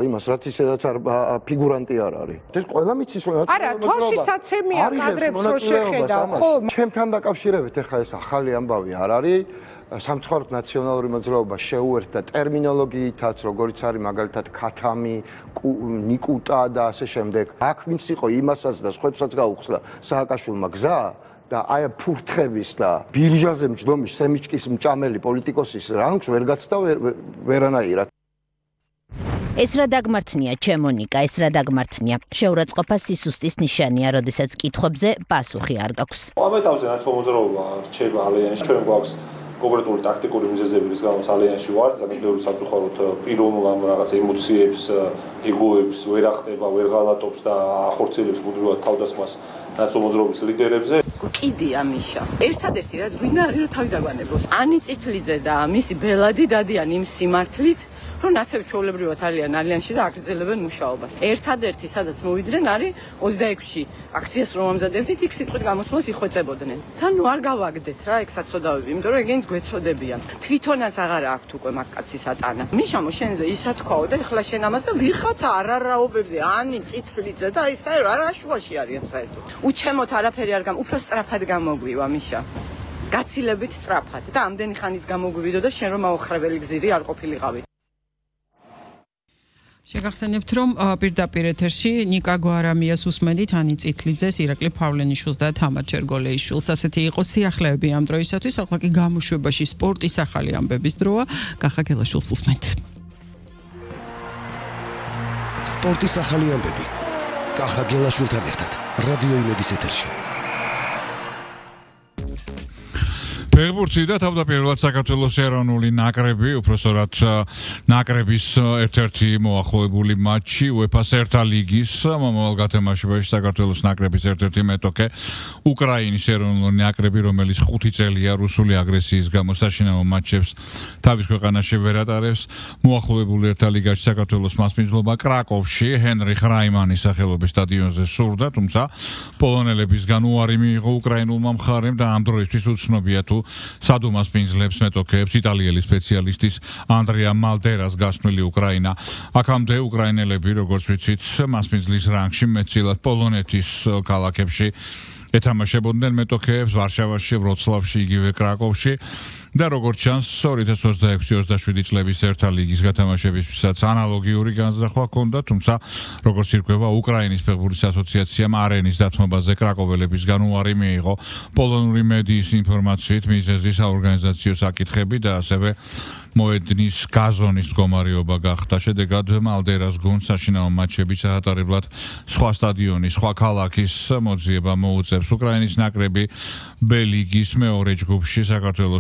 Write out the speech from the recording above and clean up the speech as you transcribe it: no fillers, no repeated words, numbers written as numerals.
იმას რაც ისედაც ფიგურანტი არ არის. ეს ყველა მიცის რომ არა, თოშისაცემია კადრებს რო შეხედავ, ხო? ჩემთან დაკავშირებით ეხლა ეს ახალი ამბავი არ არის. სამცხარო ნაციონალური მოძრაობა შეუერთდა ტერმინოლოგიითაც, როგორც არის მაგალითად ქათამი, ნიკუტა და ასე შემდეგ. აქ ვინც იყო იმასაც და სხვებსაც გაუხსნა სააკაშვილმა გზა და აი ფურთხების და ბირჟაზე მჯდომის სემიჩკის მჭამელი პოლიტიკოსის რანგს ვერ გაცდა ვერანაირად. ეს რა დაგმართნია, ჩემონიკა, ეს რა დაგმართნია. შეურაცხყოფა სისუსტის ნიშანია, როდესაც კითხვებზე პასუხი არ გაქვს. ამ ეტაპზე ნაციონალური მოძრაობა რჩება ალიანსში, ჩვენ გვაქვს კონკრეტული ტაქტიკური მიზეზები, რის გამოც ალიანსში ვარ, ძალიან ბევრი სამწუხაროდ პიროვნულ რაღაცა ემოციებს, ეგოებს ვერ ახდება, ვერ ღალატობს და ახორციელებს მუდმივად თავდასხმას ნაციონალური მოძრაობის ლიდერებზე. კიდია მიშა. ერთადერთი რაც გვინდა არის რომ თავი დაგვანებოს. ანი წითლიძე და მისი ბელადი დადიან იმ სიმართლით, რომ ნაცები ჩვეულებრივად არიან ალიანსში და აგრძელებენ მუშაობას. ერთადერთი სადაც მოვიდნენ არის 26-ში აქციას რომ ამზადებდით, იქ სიტყვით გამოსვლას იხვეწებოდნენ. თან ნუ არ გავაგდეთ რა, ეგ საწოდავები, იმიტომ რომ ეგენს გვეწოდებიან. თვითონაც აღარა აქვთ უკვე მაგ კაცის ატანა. მიშამო შენზე ისა თქვაო და ეხლა შენ ამას და ვიღაც არარაობებზე, ანი წითლიძე და ისე რა შუაში არიან საერთოდ. უჩემოთ არაფერი არ უფრო სწრაფად გამოგვივა მიშა. გაცილებით სწრაფად და ამდენი ხანიც გამოგვივიდო და შენ რომ აოხრებელი გზირი არ ყოფილიყავი. შეგახსენებთ, რომ პირდაპირ ეთერში ნიკა გვარამიას უსმენთ, ანი წითლიძეს, ირაკლი ფავლენიშვილს და თამარ ჩერგოლეიშვილს. ასეთი იყო სიახლეები ამ დროისათვის. ახლა კი გამოშვებაში სპორტის ახალი ამბების დროა. კახა გელაშვილს უსმენთ. სპორტის ახალი ამბები. კახა გელაშვილთან ერთად რადიო იმედის ეთერში. ფეხბურთი და თავდაპირველად საქართველოს ეროვნული ნაკრები, უпроსორად ნაკრების ერთ-ერთი მოახლოებული მატჩი UEFA-ს ერთა ლიგის მომავალ გათამაშებაში საქართველოს ნაკრების ერთ-ერთი მეტოქე უკრაინის ეროვნული ნაკრები, რომელიც 5 წელია რუსული აგრესიის გამო საშინაო მატჩებს თავის ქვეყანაში ვერ ატარებს, მოახლოებული ერთა ლიგაში საქართველოს მასპინძლობა კრაკოვში ჰენრიხ რაიმანის სახელობის სტადიონზე სურდა, თუმცა პოლონელებისგან უარი მიიღო უკრაინულმა მხარემ და ამ დროისთვის უცნობია თუ სადუ მასპინძლებს მეტოქეებს იტალიელი სპეციალისტის ანდრეა მალდერას გასვლილი უკრაინა. აქამდე უკრაინელები, როგორც ვიცით, მასპინძლის რანგში მეტწილად პოლონეთის ქალაქებში ეთამაშებოდნენ მეტოქეებს ვარშავაში, ვროცლავში, იგივე კრაკოვში. და როგორც ჩანს 2026-27 წლების ერთა ლიგის გათამაშებისთვისაც ანალოგიური განზრახვა ჰქონდა, თუმცა როგორც ირკვევა, უკრაინის ფეხბურთის ასოციაციამ არენის დათმობაზე კრაკოველებისგან უარი მიიღო. პოლონური მედიის ინფორმაციით მიზეზი საორგანიზაციო საკითხები და ასევე მოედნის გაზონის მდგომარეობა გახდა. შედეგად მალდერას გუნდს საშინაო მატჩების ჩაატარებლად სხვა სტადიონის, სხვა ქალაქის მოძიება მოუწევს. უკრაინის ნაკრები ბ ლიგის მეორე ჯგუფში საქართველოს